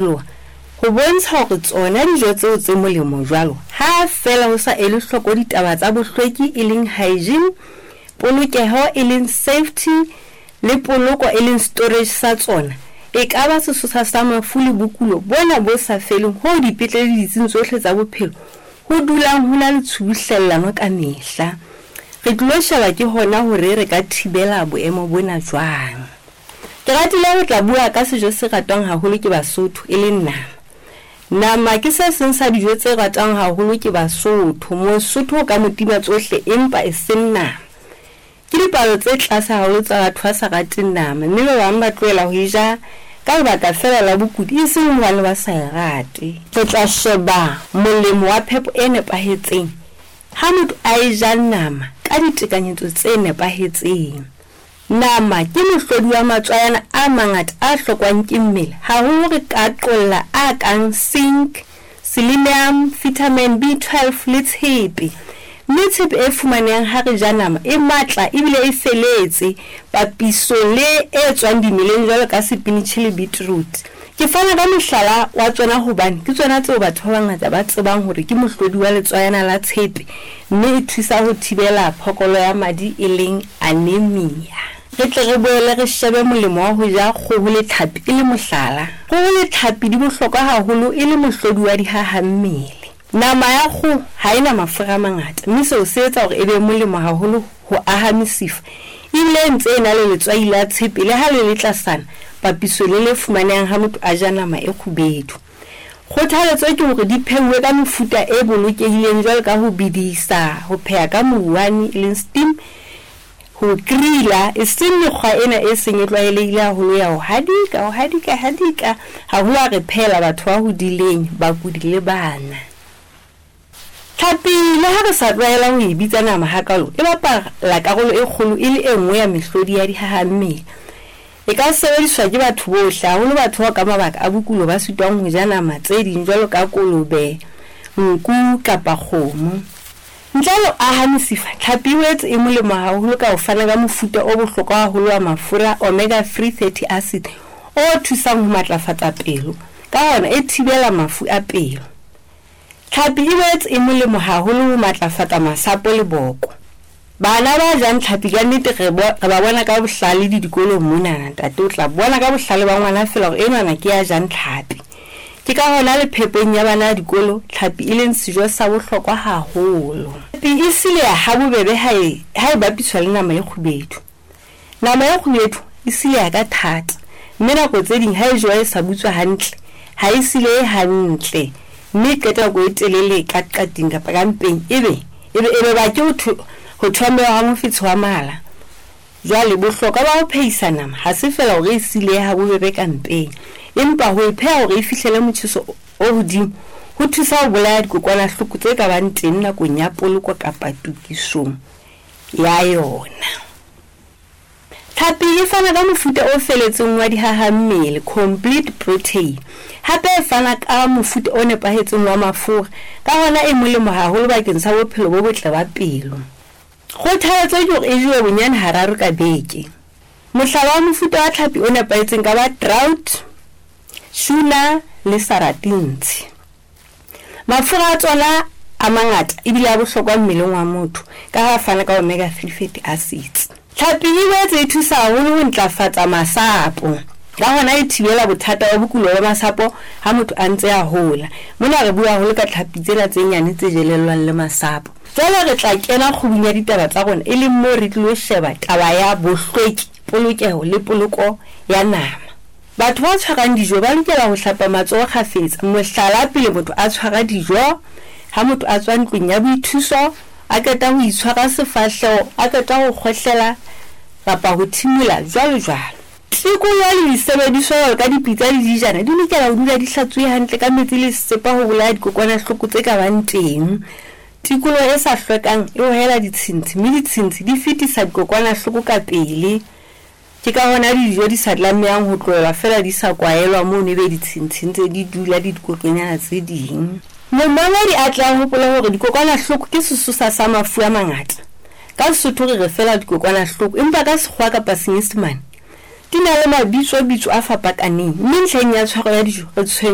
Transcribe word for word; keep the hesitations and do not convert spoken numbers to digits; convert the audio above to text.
Ho bontsha hore tsona dijo tseo tse molemo jwalo, ha feela ho sa elwe hloko ditaba tsa bohlweki e leng hygiene, polokeho e leng safety le poloko e leng storage sa tsona, e ka ba sesosa sa mafu le bokulo bona bo sa feleng hoo dipetlele le ditsing tsohle tsa bophelo ho dulang ho na le tshubuhlellano ka mehla. Re tlilo sheba ke hona hore re ka thibela boemo bona jwang. Ke ratile ho tla bua ka sejo se ratwang haholo ke Basotho e leng nama. Nama ke se seng sa dijo tse ratwang haholo ke Basotho. Mosotho o ka mo tima tsohle empa e seng nama. Ke dipalo tse tlase haholo tsa batho ba sa rateng nama, mme ba bang ba tlohela ho e ja ka lebaka feela la bokudi e seng hobane ba sa e rate. Re tla sheba molemo wa phepo e nepahetseng ha motho a e ja nama ka ditekanyetso tse nepahetseng. Nama ke mohlodi wa matswayana a mangata a hlokwang ke mmele, haholo re ka qolla a kang zinc, selenium, vitamin B twelve le tshepe. Mme tshepe e fumanehang ha re ja nama e matla ebile e feletse papisong le e tswang dimeleng jwalo ka sepinitjhi le beetroot. Ke fana ka mohlala wa tsona hobane ke tsona tseo batho ba bangata ba tsebang hore ke mohlodi wa letswayana la tshepe, mme e thusa ho thibela phokolo ya madi e leng anemia. Re tle re boele re shebe molemo wa ho ja kgoho le tlhapi e le mohlala. Kgoho le tlhapi di bohlokwa haholo e le mohlodi wa dihahammele. Nama ya kgoho ha e na mafura a mangata, mme seo se etsa hore e be molemo haholo ho aha mesifa. Ebile e ntse e na le letswai la tshepe le ha le le tlasana papisong le le fumanehang ha motho a ja nama e kgubedu. Kgothaletso ke hore di pheuwe ka mefuta e bolokehileng jwalo ka ho bedisa, ho pheha ka mouwane e leng steam, ho grilla, e seng mekgwa ena e seng e tlwaelehile haholo ya ho hadika, ho hadika, hadika, haholo ha re phehela batho ba hodileng, bakudi le bana. Tlhapi le ha re sa tlwaela ho e bitsa nama hakalo, e bapala karolo e kgolo e le e nngwe ya mehlodi ya dihahammele. E ka sebediswa ke batho bohle, haholo batho bao ka mabaka a bokulo ba sitwang ho ja nama tse ding jwalo ka kolobe, nku kapa kgomo. Ntle le ho aha mesifa, tlhapi e boetse e molemo haholo ka ho fana ka mofuta o bohlokwa haholo wa mafura omega three fatty acid o thusang ho matlafatsa pelo, ka hona e thibela mafu a pelo. Tlhapi e boetse e molemo haholo ho matlafatsa masapo le boko. Bana ba jang tlhapi ka nnete re bo-, re ba bona ka bohlale le dikolong monana, ntate o tla bona ka bohlale ba ngwana feela hore enwana ke ya jang tlhapi. Ke ka hona le phepong ya bana dikolo tlhapi e leng sejo sa bohlokwa haholo. Tlhapi e sileha ha bobebe ha e, ha e bapiswa le nama e kgubedu. Nama e kgubedu e sileha ka thata, mme nako tse ding ha e jewa e sa butswa hantle, ha e silehe hantle, mme e qeta nako e telele ka qating kapa ka mpeng, ebe, ebe, ebe ba ke ho tho-, ho thomeha ha mofetshe wa mala. Jwale bohlokwa ba ho phehisa nama ha se feela hore e silehe ha bobebe ka mpeng, empa ho e pheha hore e fihlele motjheso o hodimo ho thusa ho bolaya dikokwanahloko tse ka bang teng nakong ya poloko kapa tokisong ya yona. Tlhapi e fana ka mofuta o feletseng wa dihahammele, complete protein. Hape e fana ka mofuta o nepahetseng wa mafura, ka hona e molemo haholo bakeng sa bophelo bo botle ba pelo. Kgothaletso ke hore e jewe bonyane hararo ka beke. Mohlala wa mofuta wa tlhapi o nepahetseng ka ba trout, tuna le sardines. Mafura a tsona a mangata ebile a bohlokwa mmeleng wa motho ka ha a fana ka omega three fatty acids. Tlhapi e boetse e thusa haholo ho ntlafatsa masapo, ka hona e thibela bothata ba bokulo ba masapo ha motho a ntse a hola. Mona re bua haholo ka tlhapi tsena tse nyane tse jelellwang le masapo. Jwale re tla kena kgubung ya ditaba tsa rona, e leng moo re tlilo sheba taba ya bohlweki, polokeho le poloko ya nama. Batho ba tshwarang dijo ba lokela ho hlapa matsoho kgafetsa. Mohlala, pele motho a tshwara dijo, ha motho a tswa ntlong ya boithuso, a qeta ho itshwara sefahleho, a qeta ho kgohlela kapa ho thimola, jwalo jwalo. Tikoloho le disebediswa jwalo ka dipitsa le dijana di lokela ho dula di hlatsuwe hantle ka metsi le sesepa ho bolaya dikokwanahloko tse ka bang teng. Tikoloho e sa hlwekang e hohela ditshintshi, mme ditshintshi di fetisa dikokwanahloko ka pele. Ke ka hona dijo di sa tlamehang ho tlohelwa feela di sa kwaelwa mono, ebe ditshintshi ntse di dula le dikokonyana tse ding. Momamedi a tla hopola hore dikokwanahloko ke sesosa sa mafu a mangata. Ka Sesotho re re feela dikokwanahloko, empa ka Sekgowa kapa Senyesemane Di na le mabitsobitso a fapakaneng, mme ntlheng ya tshwaro ya dijo re tshwenywa